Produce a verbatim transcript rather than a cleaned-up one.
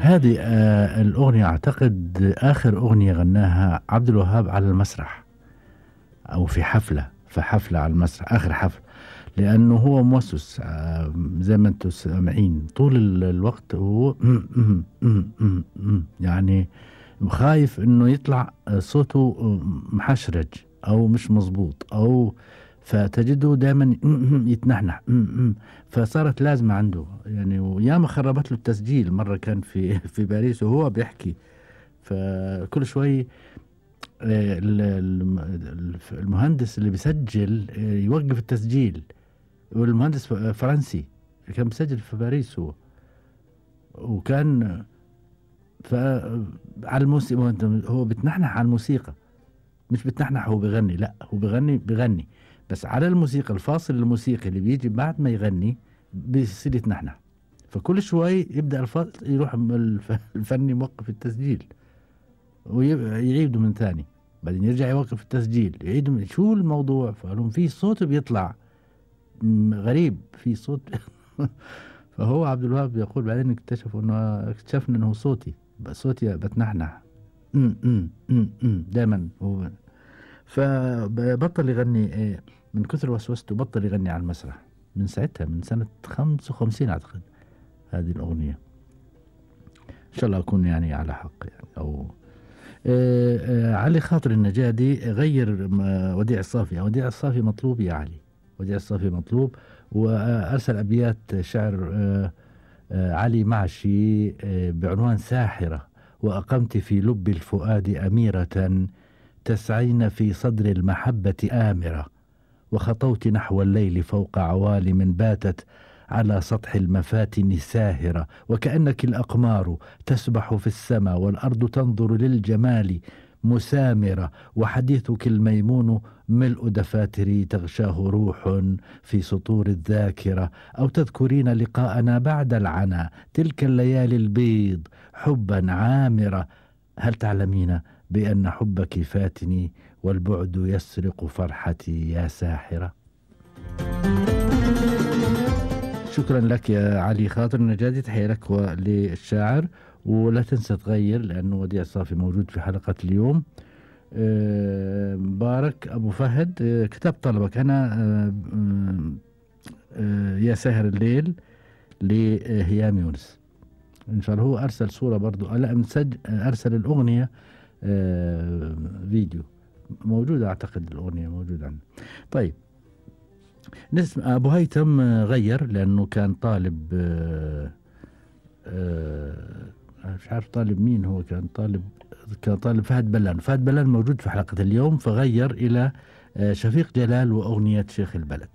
هذه آه الأغنية أعتقد آخر أغنية غناها عبد الوهاب على المسرح أو في حفلة في حفلة على المسرح، آخر حفل، لأنه هو موسوس آه زي ما أنتم سامعين طول ال- الوقت هو يعني خايف إنه يطلع آه، صوته آه، محشرج أو مش مظبوط، أو فتجده دائما يتنحنح فصارت لازمة عنده يعني. وياما خربت له التسجيل، مرة كان في في باريس وهو بيحكي، فكل شوي آه، ال- ال- المهندس اللي بيسجل آه، يوقف التسجيل، والمهندس ف- فرنسي كان مسجل في باريس هو، وكان ف على الموسيقى هو بتنحنح على الموسيقى، مش بتنحنح هو بغني، لا هو بغني بغني بس على الموسيقى، الفاصل الموسيقي اللي بيجي بعد ما يغني بيصير يتنحنح. فكل شوي يبدأ الفاصل يروح الف- الفني موقف التسجيل ويعيده من ثاني، بعدين يرجع يوقف التسجيل يعيد من شو الموضوع. فقالوا في صوت بيطلع م- غريب، في صوت فهو عبد الوهاب يقول بعدين اكتشفوا انه اكتشفنا انه صوتي بس صوتي بتنحنح دائما هو. فبطل يغني إيه، من كثر وسوسته بطل يغني على المسرح من ساعتها، من سنة خمسة وخمسين أعتقد هذه الأغنية. إن شاء الله أكون يعني على حق يعني. أو آه آه علي خاطر النجادي غير م- وديع الصافي. وديع الصافي مطلوب يا علي، وديع الصافي مطلوب، وأرسل أبيات شعر آه آه علي معشي آه بعنوان ساحرة. وأقمت في لب الفؤاد أميرة تسعين في صدر المحبة آمرة، وخطوت نحو الليل فوق عوالم باتت على سطح المفاتن ساهرة، وكأنك الأقمار تسبح في السماء والأرض تنظر للجمال مسامرة، وحديثك الميمون ملء دفاتري تغشاه روح في سطور الذاكرة. أو تذكرين لقاءنا بعد العنا تلك الليالي البيض حبا عامرة. هل تعلمين بأن حبك فاتني والبعد يسرق فرحتي يا ساحرة؟ شكرا لك يا علي خاطر النجادي، تحية لك وللشاعر. ولا تنسى تغير لأنه وديع الصافي موجود في حلقة اليوم. آه، مبارك أبو فهد آه، كتاب طلبك أنا آه، آه، يا ساهر الليل لهيام يونس. إن شاء الله هو أرسل صورة برضو، لا مسج أرسل الأغنية آه، فيديو موجودة، أعتقد الأغنية موجودة عنه. طيب نسمع أبو هيثم آه، غير لأنه كان طالب آه، آه، مش عارف طالب مين هو، كان طالب كان طالب فهد بلان. فهد بلان موجود في حلقة اليوم فغير إلى آه، شفيق جلال وأغنية شيخ البلد.